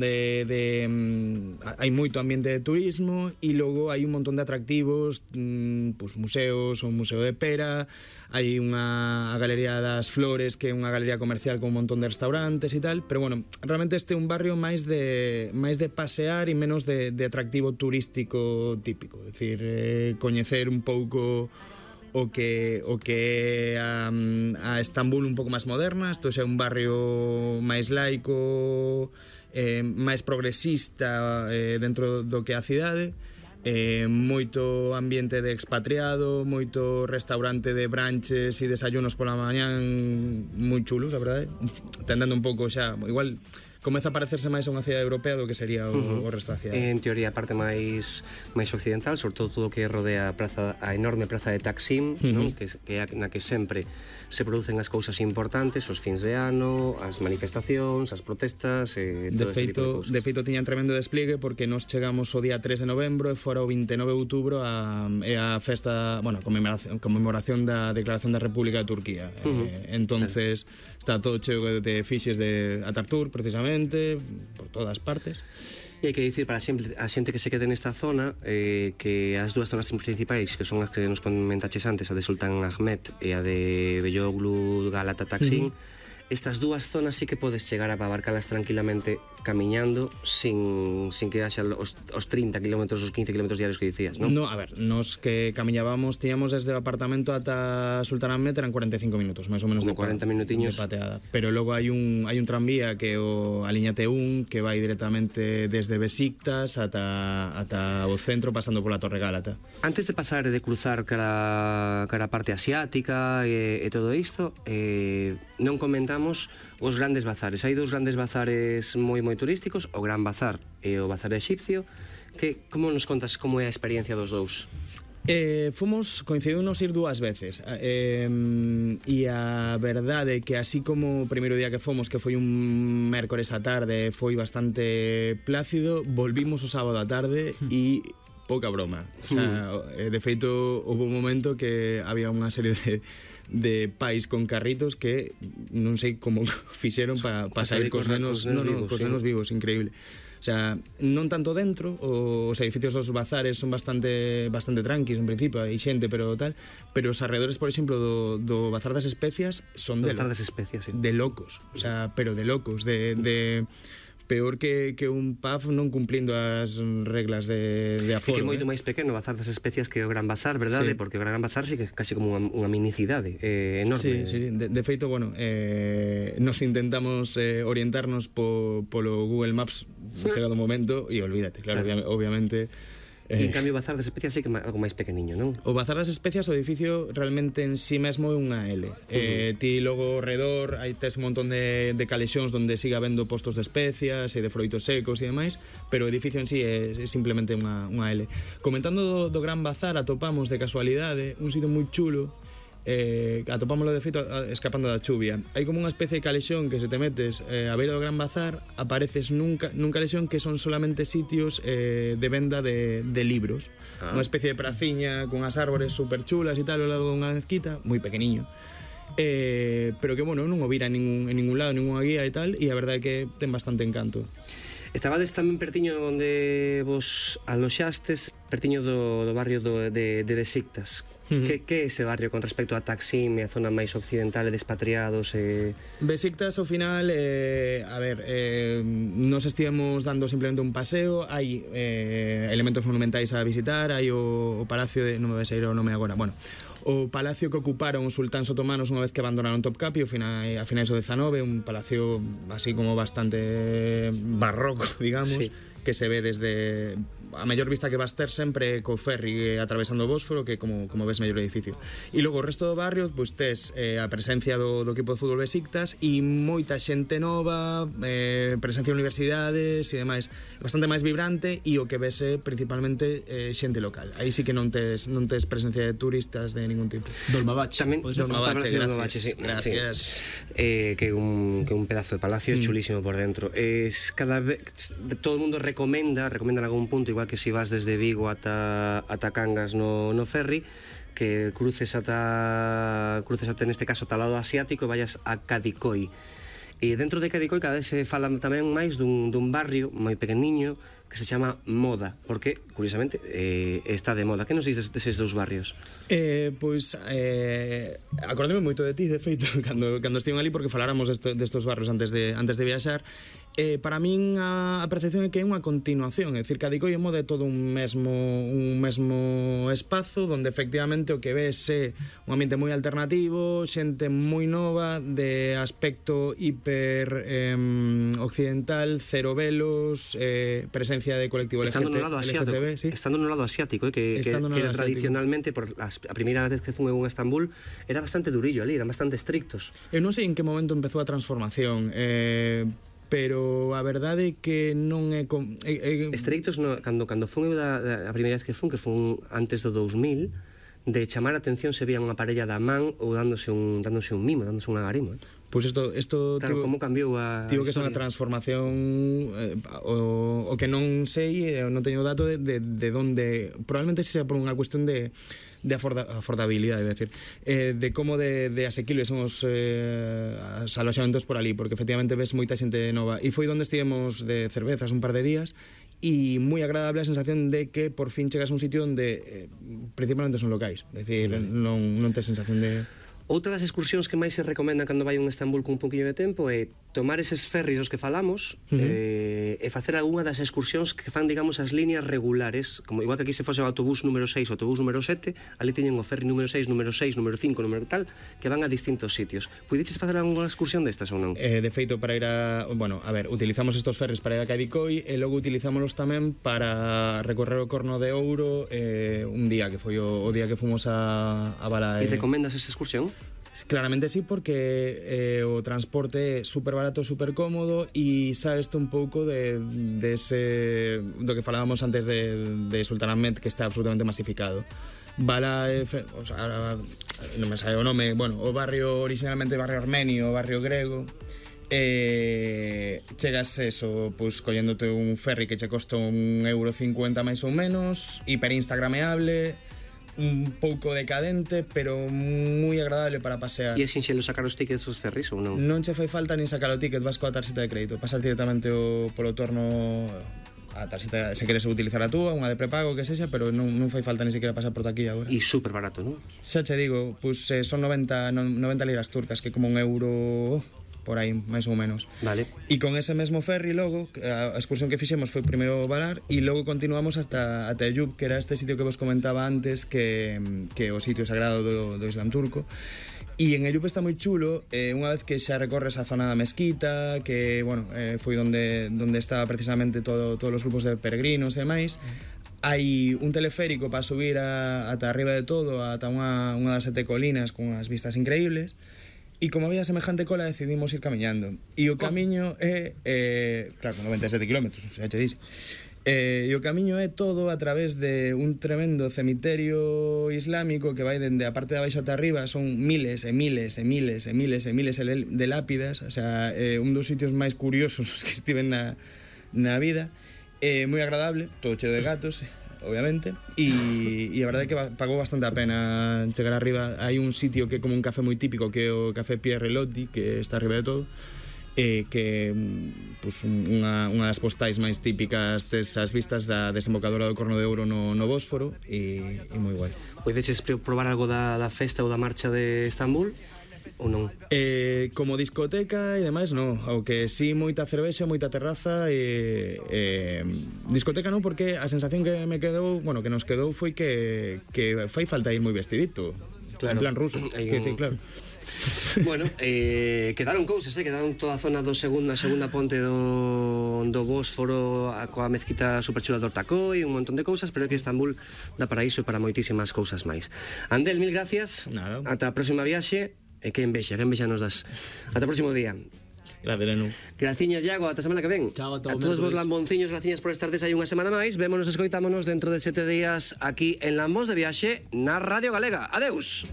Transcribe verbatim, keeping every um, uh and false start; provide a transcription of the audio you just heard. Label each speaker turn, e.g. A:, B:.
A: de, de um, hai moito ambiente de turismo e logo hai un montón de atractivos, um, pues, museos, o Museo de Pera, hai unha a Galería das Flores, que é unha galería comercial con un montón de restaurantes e tal, pero bueno, realmente este é un barrio máis de máis de pasear e menos de, de atractivo turístico típico, é dicir, eh, coñecer un pouco o que o que a, a Estambul un pouco máis moderna. Isto é un barrio máis laico, eh, máis progresista eh, dentro do que é a cidade, eh, moito ambiente de expatriado, moito restaurante de branches e desayunos pola mañán moi chulos, a verdade, tendendo un pouco xa, igual comeza a parecerse máis a unha cidade europea do que sería o, uh-huh. o resto da cidade.
B: En teoría a parte máis máis occidental, sobre todo todo o que rodea a praza, a enorme praza de Taksim, uh-huh. non? Que, que é na que sempre se producen as cousas importantes, os fins de ano, as manifestacións, as protestas, e todo
A: de feito,
B: ese tipo de cousas.
A: De feito tiñan tremendo despliegue porque nos chegamos o día tres de novembro e fora o vinte e nove de outubro a, e a festa, bueno, a conmemoración, conmemoración da Declaración da República de Turquía. Uh-huh. Eh, entonces, claro, está todo cheo de fixes de Atatürk, precisamente, por todas partes.
B: E hai que dicir para sempre, a xente que se quede nesta zona, eh, que as dúas zonas principais, que son as que nos comentaches antes, a de Sultan Ahmed e a de Beyoglu, Galata, Taksim, uh-huh. Estas dúas zonas sí que podes chegar a abarcalas tranquilamente camiñando sin, sin que haxa os, os treinta kilómetros, os quince kilómetros diarios que dicías, non?
A: No, a ver, nos que camiñábamos, tiñamos desde o apartamento ata Sultan Ahmed eran cuarenta e cinco minutos, máis ou menos,
B: de cuarenta minutiños
A: de pateada. Pero logo hai un hai un tranvía que é o a liña T un que vai directamente desde Besiktas ata ata o centro pasando pola Torre Gálata.
B: Antes de pasar e de cruzar cara cara a parte asiática e, e todo isto, eh, non comentamos os grandes bazares. Hai dous grandes bazares moi moi turísticos, o Gran Bazar e o Bazar Exipcio, que como nos contas como é a experiencia dos dous?
A: Eh, fomos, coincidimos ir dúas veces, eh, e a verdade é que así como o primeiro día que fomos, que foi un mércores á tarde, foi bastante plácido, volvimos o sábado á tarde e pouca broma. O sea, de feito, houve un momento que había unha serie de de pais con carritos que non sei como fixeron para pa sair cos nenos, no, no, cos nenos vivos, increíble. O sea, non tanto dentro, os edificios dos bazares son bastante bastante tranquis en principio, hai xente, pero tal, pero os arredores, por exemplo, do, do Bazar das Especias son de,
B: Bazar das Especias, sí.
A: de locos, o sea, pero de locos, de... de peor que, que un pub non cumplindo as reglas de, de aforo.
B: E que é moito
A: eh?
B: máis pequeno o Bazar das Especias que o Gran Bazar, verdade? Sí. Porque o Gran Bazar sí que é casi como unha, unha minicidade eh, enorme.
A: Sí, sí, de, de feito, bueno, eh, nos intentamos eh, orientarnos po, polo Google Maps chegado o momento e olvídate, claro, claro. obviamente...
B: E en cambio o Bazar das Especias sí que é algo máis pequeniño, non?
A: O Bazar das Especias, o edificio realmente en sí mesmo é unha L. Uh-huh. eh, ti logo ao redor hai tes un montón de, de calexóns onde siga habendo postos de especias e de froitos secos e demais, pero o edificio en sí é, é simplemente unha, unha L. Comentando do, do Gran Bazar, atopamos de casualidade un sitio moi chulo, eh, atopámoslo de feito escapando da chuvia. Hai como unha especie de calexón que se te metes eh, a beira do Gran Bazar, apareces nun, nun calexón que son solamente sitios eh, de venda de, de libros. Ah. Unha especie de praciña con as árbores super chulas e tal ao lado dunha mezquita, moi pequeniño. Eh, pero que, bueno, non o vira en ningún, en ningún lado, ninguna guía e tal, e a verdade é que ten bastante encanto.
B: Estabades tamén pertiño onde vos aloxastes, pertiño do, do barrio do, de, de Besiktas. Uh-huh. Que, que é ese barrio con respecto a Taksim e a zona máis occidental e de expatriados? E...
A: Besiktas, ao final, eh, a ver, eh, nos estivemos dando simplemente un paseo, hai eh, elementos monumentais a visitar, hai o, o palacio de... non me vai sair o nome agora, bueno... O palacio que ocuparon os sultáns otomanos unha vez que abandonaron Topkapi a finais do dezanove, un palacio así como bastante barroco, digamos, sí, que se ve desde a mellor vista que vas ter sempre co ferry atravesando o Bósforo, que como, como ves mellor edificio. E logo o resto do barrio, pois tes eh, a presencia do, do equipo de fútbol Besiktas e moita xente nova, eh, presencia de universidades e demais, bastante máis vibrante, e o que vese principalmente eh, xente local. Aí sí que non tes, non tes presencia de turistas de ningún tipo.
C: Dolmabach.
B: Tamén
A: Dolmabach,
B: gracias. Sí,
A: gracias.
B: Sí. Eh, que un que un pedazo de palacio mm. chulísimo por dentro. Es cada vez todo el mundo recomenda, recomenda en algún punto, igual que si vas desde Vigo ata ata Cangas no no ferry, que cruces ata cruces ata neste caso ata o lado asiático e vayas a Kadikoy. E dentro de Cadicoi cada vez se fala tamén máis dun, dun barrio moi pequeniño que se chama Moda, porque, curiosamente, eh, está de moda. Que nos dices deses dous barrios?
A: Eh, pois, eh, acordeme moito de ti, de feito, cando, cando estiven ali, porque faláramos desto, destos barrios antes de, antes de viaxar. Eh, para min a, a percepción é que é unha continuación, é dicir, Cadicoi e Moda é todo un mesmo, un mesmo espazo donde efectivamente o que ves é un ambiente moi alternativo, xente moi nova, de aspecto hiper eh, occidental, cero velos, eh, presencia de colectivo L G T B,
B: estando no lado asiático,
A: L G T B, sí.
B: estando no lado asiático, eh, que, que, que era tradicionalmente por a, a primeira vez que fun en Estambul era bastante durillo ali, eran bastante estrictos.
A: Eu non sei en que momento empezou a transformación, eh, pero a verdade é que non é... Com, é, é...
B: Estrictos, no, cando, cando fun eu da, da, a primeira vez que fun, que fun antes do dous mil, de chamar a atención se veía unha parella da man ou dándose un, dándose un mimo, dándose un agarimo, eh?
A: Pois pues isto, isto
B: claro,
A: tivo,
B: como cambiou a
A: tivo que ser unha transformación eh, o, o que non sei, eh, non teño dato de, de, de donde, probablemente se sea por unha cuestión de de aforda, afordabilidade, é dicir, eh, de como de, de asequibles son os, eh, os aloxamentos por ali, porque efectivamente ves moita xente nova, e foi onde estivemos de cervezas un par de días, e moi agradable a sensación de que por fin chegas a un sitio onde eh, principalmente son locais, é dicir, non, non tes sensación de...
B: Outra das excursións que máis se recomendan cando vai a un Estambul con un poquinho de tempo é tomar eses ferries dos que falamos, uh-huh. eh, e facer algunha das excursións que fan, digamos, as líneas regulares, como igual que aquí se fose o autobús número seis, o autobús número sete, ali teñen o ferry número seis, número seis, número cinco, número tal, que van a distintos sitios. Puideches facer algunha excursión destas ou non?
A: Eh, de feito, para ir a... Bueno, a ver, utilizamos estos ferries para ir a Cadicoi e logo utilizámonos tamén para recorrer o Corno de Ouro eh, un día, que foi o, o día que fomos a, a Bala.
B: E recomendas esa excursión?
A: Claramente sí, porque eh, o transporte é super barato, super cómodo e sabes un pouco de, de ese, do que falábamos antes de, de Sultanahmet, que está absolutamente masificado. Bala, eh, o sea, non me sabe o nome, bueno, o barrio originalmente barrio armenio, o barrio grego, eh, chegas eso, pois colléndote un ferry que che costa un euro cincuenta máis ou menos, hiper instagrameable, un pouco decadente, pero moi agradable para pasear.
B: E é sinxelo sacar os tickets dos ferries ou non?
A: Non che fai falta nin sacar o ticket, vas coa tarxeta de crédito, pasas directamente o, polo torno a tarxeta, se queres utilizar a túa, unha de prepago, que sexa, pero non, non fai falta ni siquiera pasar por aquí agora.
B: E super barato, non?
A: Xa che digo, pues, eh, son noventa, noventa liras turcas, que como un euro... por aí, máis ou menos.
B: Vale.
A: E con ese mesmo ferry logo, a excursión que fixemos foi primeiro Valar e logo continuamos hasta ata Eyüp, que era este sitio que vos comentaba antes, que que o sitio sagrado do, do Islam turco. E en Eyüp está moi chulo, eh, unha vez que xa recorres a zona da mezquita, que, bueno, eh, foi onde onde estaba precisamente todo, todos os grupos de peregrinos e demais. Hai un teleférico para subir a, ata arriba de todo, ata unha, unha das sete colinas con unhas vistas increíbles. E como había semejante cola, decidimos ir camiñando. E o camiño é, eh, claro, noventa e sete kilómetros, xa che dixo. Eh, e o camiño é todo a través de un tremendo cemiterio islámico que vai dende a parte de abaixo ata arriba, son miles e miles e miles e miles e miles de lápidas, o sea, eh, un dos sitios máis curiosos que estiven na, na vida. Eh, moi agradable, todo cheo de gatos, obviamente, e, e a verdade é que pagou bastante a pena chegar arriba. Hai un sitio que é como un café moi típico, que é o Café Pierre Lotti, que está arriba de todo, e que pues, unha, unha das postais máis típicas desas vistas da desembocadura do Corno de Ouro no, no Bósforo, e, e moi guai.
B: Podeches probar algo da, da festa ou da marcha de Estambul? Ou non?
A: Eh, como discoteca e demais, non. O que sí, moita cervexa, moita terraza e, eh, discoteca non, porque a sensación que me quedou, bueno, que nos quedou foi que, que fai falta ir moi vestidito, claro. En plan ruso, que
B: un...
A: decir, claro.
B: Bueno, eh, quedaron cousas, eh? Quedaron toda a zona do segunda, segunda ponte do, do Bósforo, a, coa mezquita superchula do Ortacoi, un montón de cousas, pero é que Estambul dá para iso e para moitísimas cousas máis. Andel, mil gracias.
A: Nada.
B: Ata a próxima viaxe. E que envexa, que envexa nos das. Ata o próximo día.
A: Gracias, Lenu.
B: Graciñas, Iago, ata a semana que ven.
C: Chao, ata
B: a todos vos lambonciños, graciñas por estardes aí unha semana máis. Vémonos, escoitámonos dentro de sete días aquí en Lambos de Viaxe na Radio Galega. Adeus.